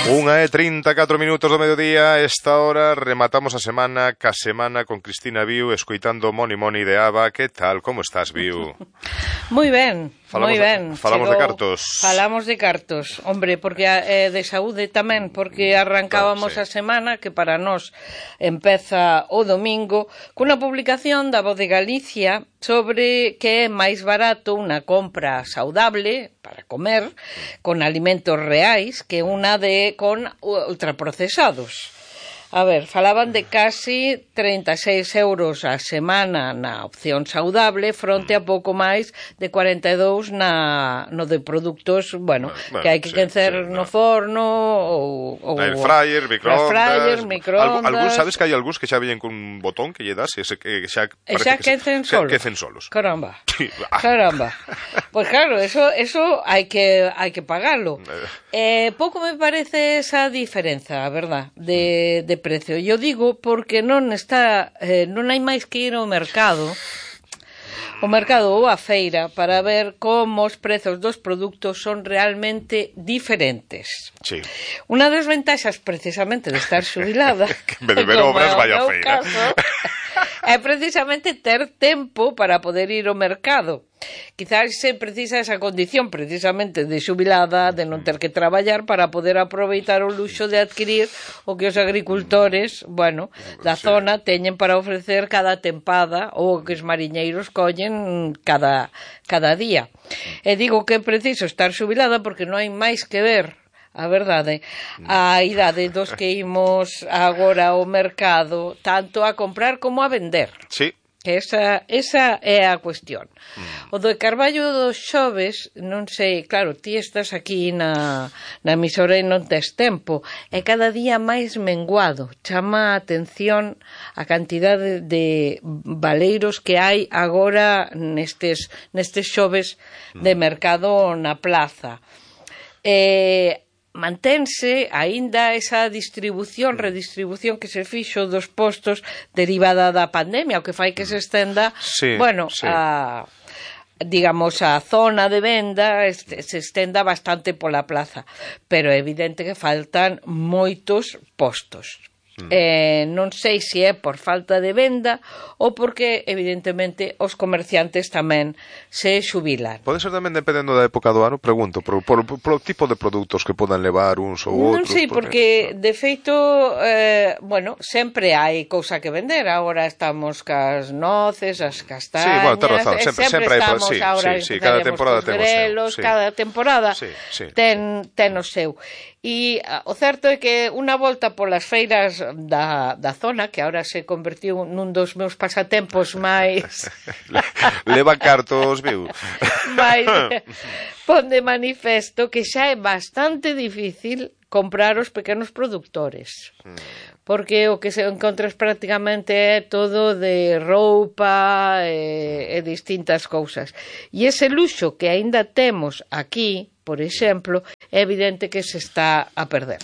1:34 do mediodía. Esta hora rematamos a semana ca semana con Cristina Viu, escoitando Moni Moni de ABBA. Que tal? Como estás, Viu? Moi ben, moi ben. Falamos de cartos. Falamos de cartos, hombre, porque de saúde tamén, porque arrancábamos a semana, que para nós empeza o domingo, cunha publicación da Voz de Galicia sobre que é máis barato unha compra saudable para comer con alimentos reais que unha con ultraprocesados. A ver, falaban de casi 36 euros a semana na opción saudable fronte a pouco máis de 42 no de produtos, bueno que hai que quencer no forno ou air fryer, microondas. Algúns, sabes que hai algúns que xa veñen cun botón que lle das e xa quecen solos. Caramba. Caramba. Pois claro, eso hai que pagalo. Pouco me parece esa diferenza, a verdad, de precio. Eu digo porque non hai máis que ir ao mercado ou á feira para ver como os prezos dos produtos son realmente diferentes. Sí. Unha das ventaxas precisamente de estar xubilada que en vez de ver obras vai á feira. É precisamente ter tempo para poder ir ao mercado. Quizás se precisa esa condición precisamente de xubilada, de non ter que traballar para poder aproveitar o luxo de adquirir o que os agricultores, bueno, da zona teñen para ofrecer cada tempada ou que os mariñeiros collen cada día. E digo que é preciso estar xubilada porque non hai máis que ver, a verdade, a idade dos que imos agora ao mercado tanto a comprar como a vender. Sí. Esa é a cuestión. O do Carballo dos xoves, non sei, claro, ti estás aquí na emisora e non tes tempo, é cada día máis menguado. Chama a atención a cantidade de baleiros que hai agora nestes xoves de mercado na plaza. Mantense aínda esa redistribución que se fixo dos postos derivada da pandemia, o que fai que se estenda, digamos, a zona de venda se estenda bastante pola plaza, pero é evidente que faltan moitos postos. Non sei se é por falta de venda ou porque evidentemente os comerciantes tamén se xubilan. Pode ser tamén dependendo da época do ano, pregunto, por tipo de produtos que podan levar uns ou outros. Non sei, porque de feito sempre hai cousa que vender. Agora estamos cas noces, as castañas. Sí, bueno, ten razón, sempre hai estamos agora cada temporada ten o seu. Cada temporada ten o seu. E o certo é que unha volta polas feiras da zona, que agora se convertiu nun dos meus pasatempos máis leva cartos, viu? máis pon de manifesto que xa é bastante difícil comprar os pequenos produtores, porque o que se encontras prácticamente é todo de roupa e distintas cousas, e ese luxo que aínda temos aquí, por exemplo, é evidente que se está a perder.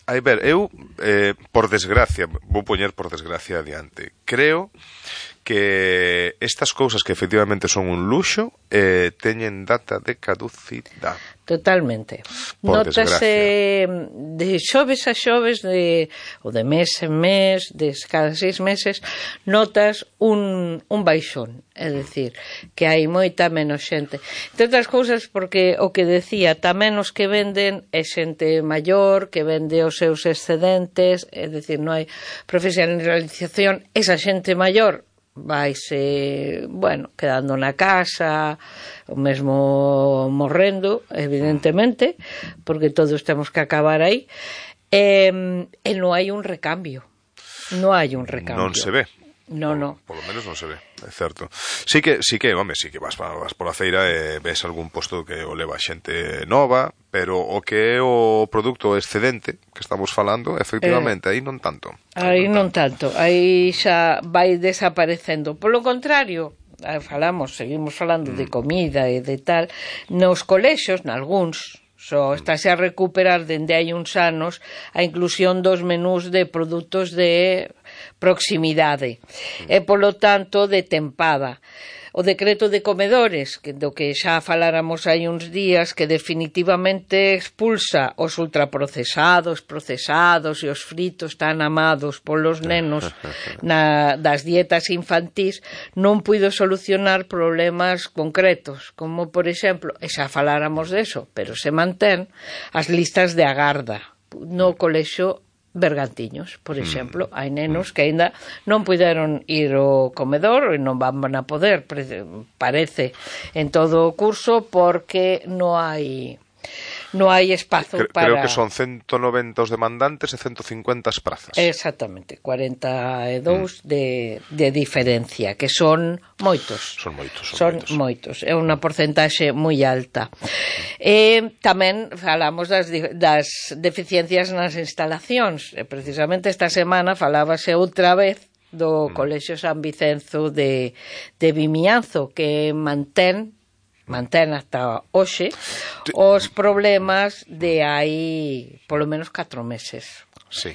A ver, eu, por desgracia, vou poñer por desgracia adiante, creo que estas cousas que efectivamente son un luxo teñen data de caducidade. Totalmente. Notase de xoves a xoves, ou de mes en mes, de cada 6 meses, notas un baixón. É dicir, que hai moita menos xente. Entre outras cousas, porque o que decía, tamén os que venden é xente maior, que vende os seus excedentes, é dicir, non hai profesionalización. Esa xente maior vaise, quedando na casa, o mesmo morrendo, evidentemente, porque todos temos que acabar aí, e non hai un recambio. Non se ve. No. Por lo menos non se ve, é certo. Sí que vas pola feira e ves algún posto que o leva xente nova, pero o que é o produto excedente que estamos falando, efectivamente, aí non tanto. Aí xa vai desaparecendo. Polo contrario, seguimos falando de comida e de tal, nos colexios, nalgúns, estáse a recuperar dende hai uns anos a inclusión dos menús de produtos de proximidade e, polo tanto, de tempada. o decreto de comedores, do que xa faláramos hai uns días, que definitivamente expulsa os ultraprocesados, procesados e os fritos tan amados polos nenos das dietas infantís, non puido solucionar problemas concretos, como, por exemplo, e xa faláramos deso, pero se mantén as listas de agarda no colexio Bergantiños, por exemplo. Hai nenos que aínda non puideron ir ao comedor e non van a poder, parece, en todo o curso, porque non hai espazo para... Creo que son 190 os demandantes e 150 as prazas. Exactamente, 42 de diferencia, que son moitos. Son moitos. É unha porcentaxe moi alta. Tamén falamos das deficiencias nas instalacións. Precisamente esta semana falábase outra vez do Colexio San Vicenzo de Vimianzo, que mantén hasta hoxe os problemas de hai polo menos 4 meses. Sí.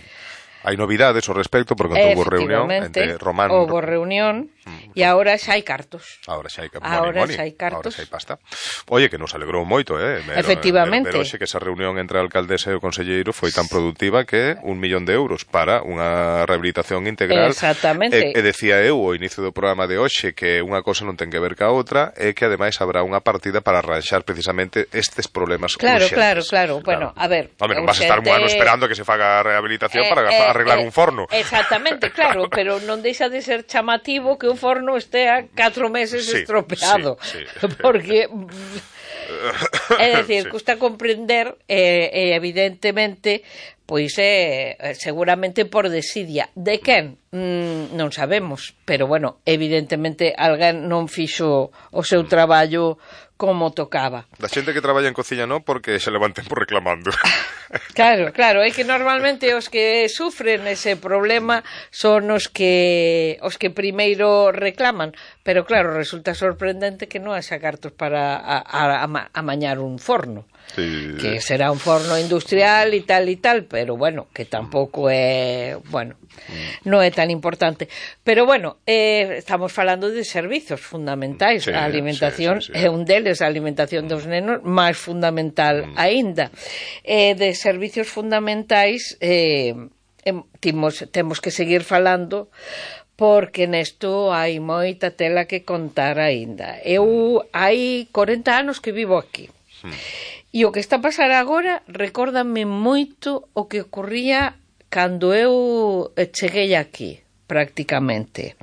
Hai novidades ao respecto, porque houve reunión entre Román... Houve reunión e agora xa hai cartos. Agora xa hai pasta. Oye, que nos alegrou moito, Efectivamente. Pero xe que esa reunión entre a alcaldesa e o conselleiro foi tan produtiva que 1 millón de euros para unha rehabilitación integral. Exactamente. E decía eu ao inicio do programa de hoxe que unha cosa non ten que ver ca outra e que ademais habrá unha partida para arranxar precisamente estes problemas urxentes. Claro. Bueno, a ver... Home, non vas a estar un ano esperando que se faga a rehabilitación para arreglar un forno. Exactamente, claro, pero non deixa de ser chamativo que un forno estea 4 meses estropeado. Sí. Porque... É dicir, custa comprender, evidentemente, pois seguramente por desidia. De quen? Non sabemos, pero bueno, evidentemente alguén non fixo o seu traballo como tocaba. Da xente que traballa en cociña non, porque se levanten por reclamando. Claro, é que normalmente os que sufren ese problema son os que primeiro reclaman, pero claro, resulta sorprendente que non haxa cartos para amañar un forno. Sí. Que será un forno industrial e tal, pero bueno, que tampouco é, bueno, non é tan importante. Pero bueno, estamos falando de servizos fundamentais. A alimentación é un deles, a alimentación dos nenos máis fundamental aínda. De servizos fundamentais temos que seguir falando, porque nesto hai moita tela que contar aínda. Eu hai 40 anos que vivo aquí. E o que está a pasar agora recórdame moito o que ocurría cando eu cheguei aquí, prácticamente.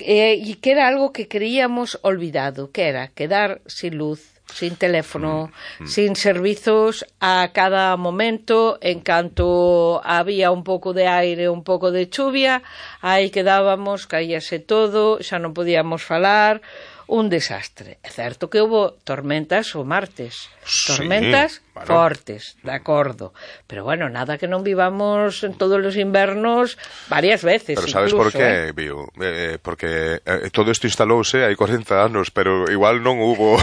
E que era algo que creíamos olvidado, que era quedar sin luz, sin teléfono, sin servizos a cada momento. En canto había un pouco de aire, un pouco de chuvia, aí quedábamos, caíase todo, xa non podíamos falar. Un desastre. É certo que houve tormentas o martes, tormentas fortes, de acordo, pero bueno, nada que non vivamos en todos os invernos varias veces. Pero sabes incluso, por qué, Bio? Porque todo isto instalouse hai 40 anos, pero igual non hubo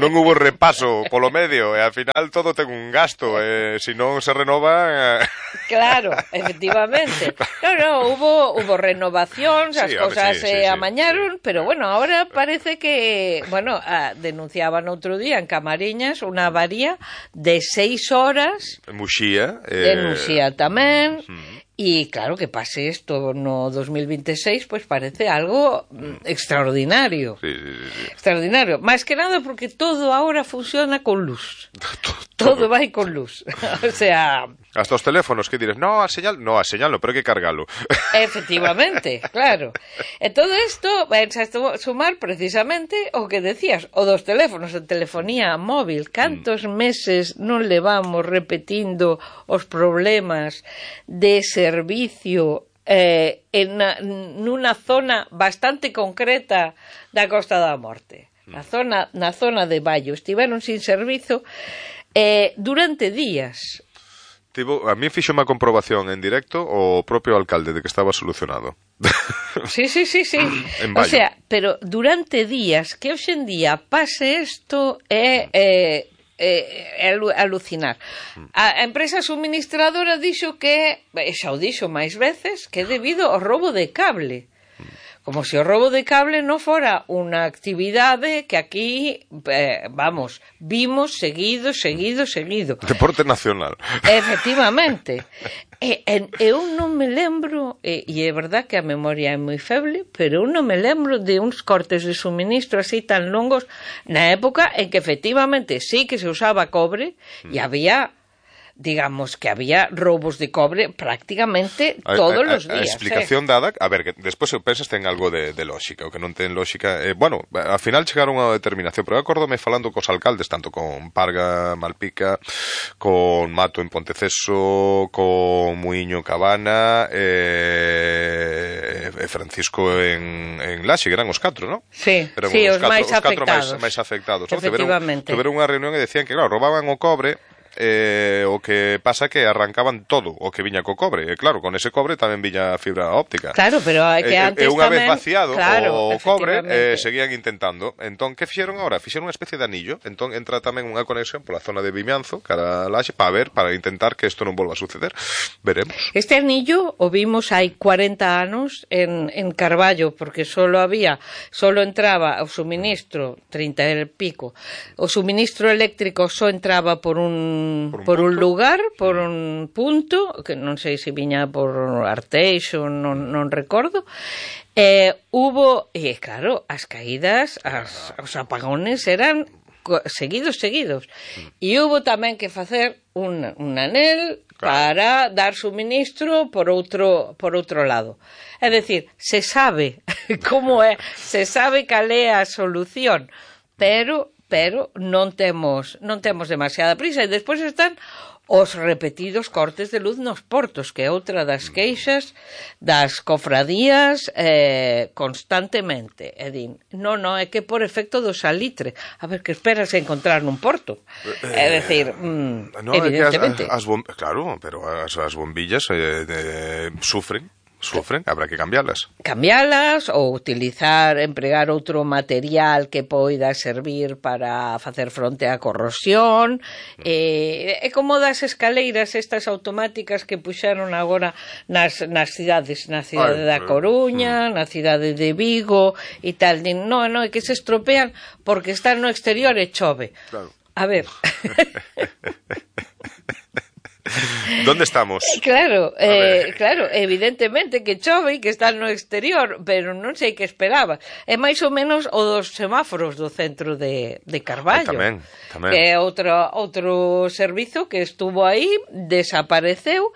non hubo repaso polo medio, e ao final todo ten un gasto, se non se renova... Claro, efectivamente. No, hubo renovacións, as cosas se amañaron, pero bueno, ahora parece que, bueno, denunciaban outro día en Camariñas unha avaría de 6 horas. Muxía. De Muxía tamén. E claro, que pase isto no 2026, pois parece algo extraordinario. Sí. Extraordinario. Máis que nada porque todo agora funciona con luz. Todo vai con luz. O sea... Hasta os teléfonos, que dires, no, a señal no, pero hai que cargalo. Efectivamente, claro. E todo isto vai a sumar precisamente o que decías, o dos teléfonos, a telefonía móvil. Cantos meses non levamos repetindo os problemas de servicio nunha zona bastante concreta da Costa da Morte. Na zona de Baio. Estiveron sin servizo durante días. A mí fixo unha comprobación en directo o propio alcalde de que estaba solucionado. Sí. O sea, pero durante días, que hoxe en día pase isto é alucinar. A empresa suministradora dixo que, xa o dixo máis veces, que é debido ao roubo de cable. Como se o roubo de cable non fora unha actividade que aquí, vamos, vimos seguido. Deporte nacional. Efectivamente. Eu non me lembro, e é verdad que a memoria é moi feble, pero eu non me lembro de uns cortes de suministro así tan longos na época en que efectivamente sí que se usaba cobre e había... digamos que había roubos de cobre prácticamente todos os días. A explicación dada, a ver, que despois eu pensas ten algo de lógica, o que non ten lógica, bueno, ao final chegaron a unha determinación, pero eu acórdome falando cos alcaldes, tanto con Parga, Malpica, con Mato en Ponteceso, con Muiño Cabana, Francisco en Laxe, que eran os 4, non? Sí, os máis afectados. Os máis afectados. Efectivamente. Tiveron unha reunión e decían que, claro, roubaban o cobre. O que pasa que arrancaban todo o que viña co cobre, e claro, con ese cobre tamén viña fibra óptica. Claro, pero hai que antes unha tamén... vez vaciado o cobre, seguían intentando. Entón, que fixeron agora? Fixeron unha especie de anillo. Entón, entra tamén unha conexión pola zona de Vimianzo, cara a Laxe, para intentar que isto non volva a suceder. Veremos. Este anillo o vimos hai 40 anos en Carballo, porque solo entraba o suministro, 30 e pico, o suministro eléctrico só entraba por un lugar, por un punto, que non sei se viña por Arteixo, non recordo. Hubo, e claro, as caídas, os apagones eran seguidos. E hubo tamén que facer un anel para dar suministro por outro lado. É dicir, se sabe como é, se sabe cal é a solución, pero non temos demasiada prisa. E despois están os repetidos cortes de luz nos portos, que é outra das queixas das cofradías constantemente. É que por efecto do salitre. A ver, que esperas encontrar nun porto? É dicir, evidentemente. Claro, pero as bombillas sufren, habrá que cambialas ou empregar outro material que poida servir para facer fronte á corrosión. É como das escaleiras estas automáticas que puxeron agora nas cidades, na cidade da Coruña, na cidade de Vigo e tal. Non, é que se estropean porque están no exterior e chove. Claro. A ver... ¿Dónde estamos? Claro, evidentemente que chove e que está no exterior, pero non sei que esperaba. É máis ou menos o dos semáforos do centro de Carballo. Tamén. Que é outro servizo que estuvo aí, desapareceu,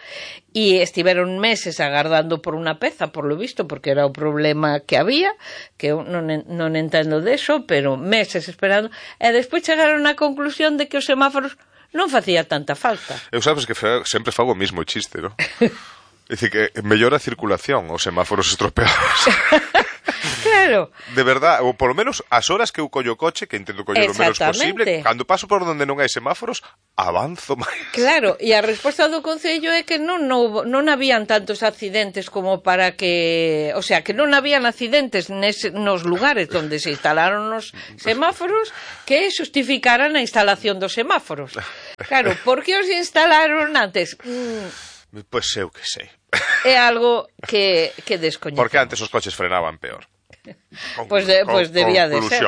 e estiveron meses agardando por unha peza, por lo visto, porque era o problema que había, que eu non entendo deso, pero meses esperando, e despois chegaron á conclusión de que os semáforos non facía tanta falta. Eu sabes que sempre fago o mismo chiste, non? É dicir, que mellora a circulación os semáforos estropeados. Claro. De verdad, ou polo menos as horas que eu collo o coche, que intento coller o menos posible, cando paso por onde non hai semáforos, avanzo máis. Claro, e a resposta do Concello é que non habían tantos accidentes como para que... O sea, que non habían accidentes nos lugares onde se instalaron os semáforos que justificaran a instalación dos semáforos. Claro, por que os instalaron antes? Pois eu que sei. É algo que descoñecemos. Porque antes os coches frenaban peor. Pois debía de ser.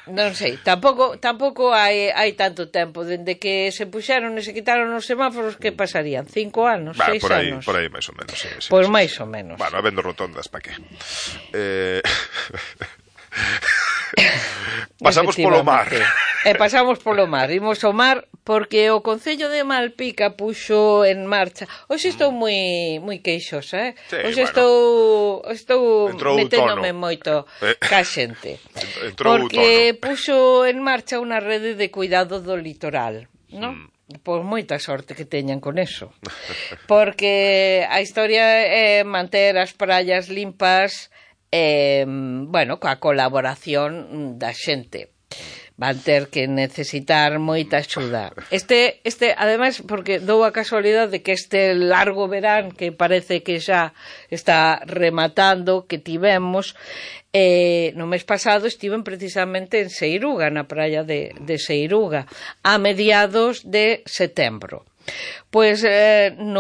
Non sei, tampouco hai tanto tempo dende que se puxeron e se quitaron os semáforos, que pasarían? 5 anos, 6 anos? Por aí máis ou menos, sí. Pois máis ou menos. Bueno, habendo rotondas, pa que? Pasamos polo mar. Pasamos polo mar. Imos ao mar porque o Concello de Malpica puxo en marcha. Hoxe estou moi queixosa, Sí, hoxe estou meténdome tono. Moito ca xente. Porque puxo en marcha unha rede de cuidado do litoral, non? Pois moita sorte que teñan con eso. Porque a historia é manter as praias limpas, coa colaboración da xente. Van ter que necesitar moita axuda. Ademais, porque dou a casualidade de que este largo verán, que parece que xa está rematando, que tivemos, no mes pasado estiven precisamente en Seiruga, na praia de Seiruga, a mediados de setembro. Pois no